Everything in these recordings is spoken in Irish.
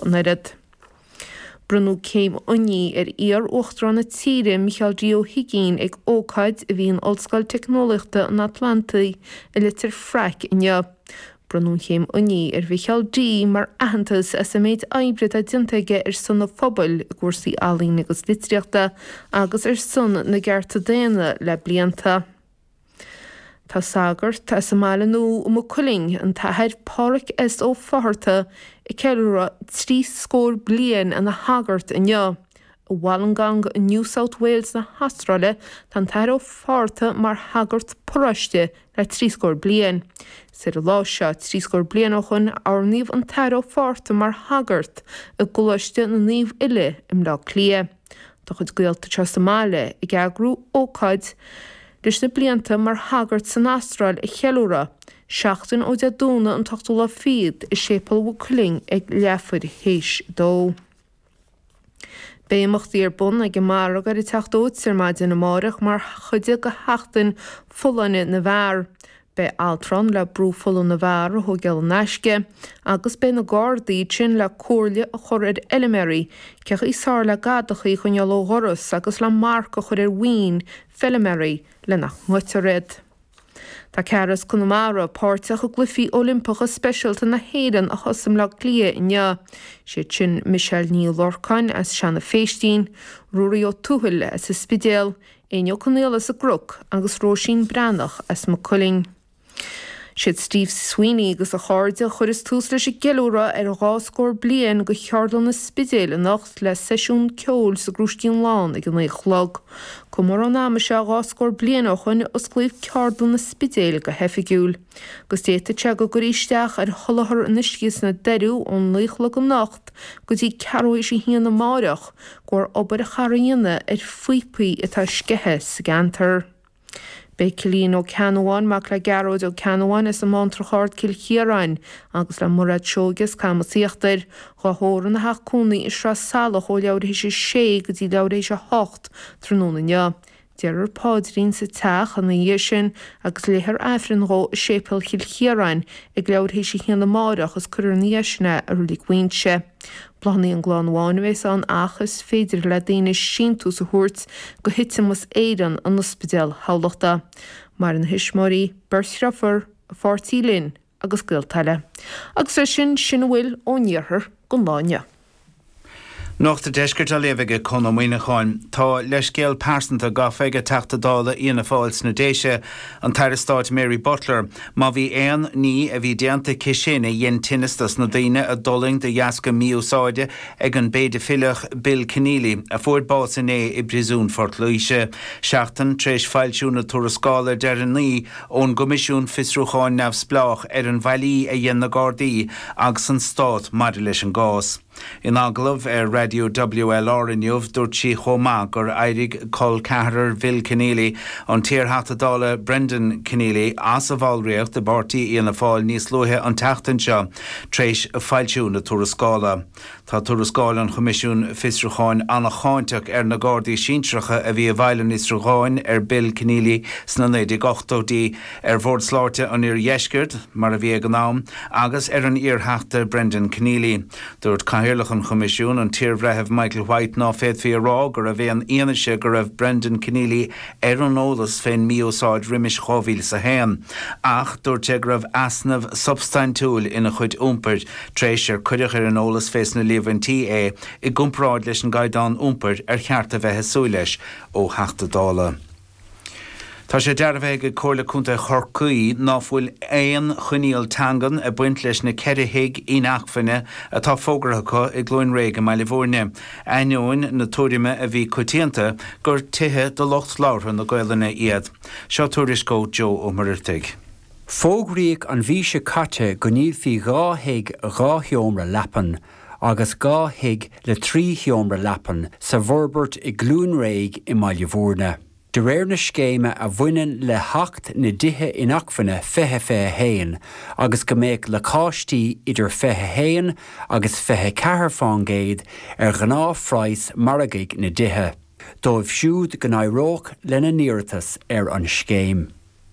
An oiread. Bronnadh céim oinigh ar iar-Uachtarán na tíre, Micheál D. Ó hUigínn ag ócáid a bhí in Ollscoil Teicneolaíochta an Atlantaigh i Leitir Fraic inniu. Bronnadh an chéim oinigh ar Mhicheál D. mar aitheantas as an méid oibre atá déanta aige ar son an phobail i gcúrsaí ealaíne agus litríochta agus ar son na gcearta daonna le blianta. Tá sagart as an mBaile Nua i Maigh Cuilinn, an tAthair Pádhraic S. Ó Fátharta, ag ceiliúradh trí scór bliain ina shagart inniu. I Wollongong i New South Wales na hAstráile tá an tAthair Ó Fátharta mar shagart paróiste le trí scór bliain. Is ar an lá seo trí scór bliain ó shoin a oirníodh an tAthair Ó Fátharta mar shagart i gColáiste na Naomh Uile i mBleá Cliath. Tá a chuid gaolta anseo sa mbaile ag eagrú ócáid leis na blianta mar shagart san Astráil a cheiliúradh, seachtain ó Dé Domhnaigh an t-ochtú lá fichead i Séipéal Mhaigh Cuilinn ag leathuair théis a dó. Beidh imeachtaí ar bun ag an margadh ar an Teach Dóite ar maidin amáireach mar chuid de Sheachtain Folláine na bhFear. Beidh altra ann le brú fola na bhfear a thóigeáil in aisce agus beidh na Gardaí ansin le comhairle a chur ar fheilméaraí cén chaoi is fearr le gadachaí a choinneáil ó dhoras agus le marc a chur ar mhaoin feilméaraí le nach ngoidtear iad. Tá ceathrar as Conamara páirteach i gCluichí Oilimpeacha Speisialta na hÉireann a thosaigh i mBleá Cliath inniu. Siad sin Michelle Ní Lorcáin as Seanadh Phéistín, Ruairí Ó Tuathail as an Spidéal, Éinne Ó Conaola as an gCnoc agus Róisín Breathnach as Maigh Cuilinn. Siad Steve Sweeney agus a chairde a chuireas tús leis an gceiliúradh ar an 2 scór bliain de Cheardlann an Spidéil anocht le seisiún ceoil sa gCrúiscín Lán ag a 9 a chlog. Comóradh an ama seo 2 scór bliain ó shoin a osclaíodh Ceardlann an Spidéil go hoifigiúil. Agus d'fhéadfadh sé go gcuirfí isteach ar sholáthar an uisce sna Doiriú ón 9 a chlog anocht go dtí ceathrú théis a haon amáireach de bharr obair a chaithfear a dhéanamh ar phíopaí atá sceithe sa gceantar. Beidh Cillian Ó Ceannabháin, mac le Gearóid Ó Ceannabháin as an mBántrach Ard, Cill Chiaráin, agus le Mairéad Seoige as Camas Íochtair, dhá thórramh ina theach cónaí i Sraith Salach ó leathuair théis a sé go dtí leathuair théis a hocht tráthnóna inniu. Déarfar paidrín sa teach ina dhiaidh sin agus léifear Aifreann dhó i Séipéal Chill Chiaráin ag leathuair théis a haon amáireach is cuirfear ina dhiaidh sin é i Reilig Mhuighinse. Bláthanna ón gclann amháin a bheas ann ach is féidir le daoine síntiús a thabhairt go Thitimos Éireann in Ospidéal Thamhlachta. Maireann a thuismitheoirí, beirt dhriofúr, a pháirtí Lynn agus gaolta eile. Agus leis sin, sin a bhfuil ón iarthar don lá inniu. Nuacht an Deiscirt á léamh ag Conn Ó Muíneacháin. Tá leithscéal pearsanta gafa ag Teachta Dála Fhianna Fáil sna Déise, an tAire Stáit Mary Butler, má bhí aon ní a bhí déanta aici sin a dhein tinneas dos na daoine a d'fhulaing de dheasca mí-úsáide ag an bpéidifileach Bill Kenneally, a fuair bás inné i bPríosún Phort Laoise, seachtain tar éis foilsiú na tuarascála deireanaí ón gCoimisiún Fiosrúcháin Neamhspleách ar an bhfaillí a dhein na Gardaí agus an Stát maidir leis an gcás. In agallamh ar Raidió WLR inniu, dúirt sí chomh maith gur éirigh col ceathrar Bhill Kenneally, an t-iarTheachta Dála Brendan Kenneally, as a bhallraíocht i bpáirtí Fhianna Fáil níos luaithe an tseachtain seo tar éis foilsiú na tuarascála. Tá tuarascáil an Choimisiúin Fiosrúcháin an-cháinteach ar na Gardaí sinsearacha a bhí i bhfeighil an fhiosrúcháin ar Bill Kenneally sna 1980idí, ar Bhord Sláinte an Iardheiscirt, mar a bhí ag an am, agus ar an iarTheachta Brendan Kenneally. Dúirt Cathaoirleach an Choimisiúin, an t-iarBhreitheamh Michael White ná féadfaí a rá go raibh aon fhianaise go raibh Brendan Kenneally ar an eolas fén mí-úsáid roimis 2001, ach dúirt sé go raibh easnamh substaintiúil ina chuid iompair tar éis ar cuireadh ar an eolas fés na líomhaintí é i gcomparáid leis an gcaighdeán iompair ar cheart a bheith ag súil leis ó Theachta Dála. Tá sé dearbhaithe ag Comhairle Contae Chorcaí ná fuil aon choinníoll teangan ag baint leis na 4 thigh inacmhainne atá fógartha acu i gCluain Réidh i mBaile Bhúirne, ainneoin na tuairime a bhí coitianta gur tithe do lucht labhartha na Gaolainne iad. Seo tuairisc ó Joe Ó Muircheartaigh. Fógraíodh an mhí seo caite go ndíolfaí 2 thigh 2 sheomra leapan agus 2 thigh le 3 sheomra leapan sa bhforbairt i gCluain Réidh i mBaile Bhúirne. De réir na scéime a bhaineann le hAcht na dTithe Inacmhainne 2021 agus go mbeadh lacáistí idir 21 agus 24 fán gcéad ar ghnáthphraghas margaidh na dtithe, dóibh siúd go n-éireodh lena n-iarratas ar an scéim.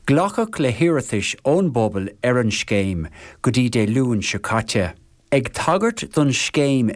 Glacadh le hiarratais ón bpobal ar an scéim go dtí Dé Luain seo caite. Ag tagairt don scéim.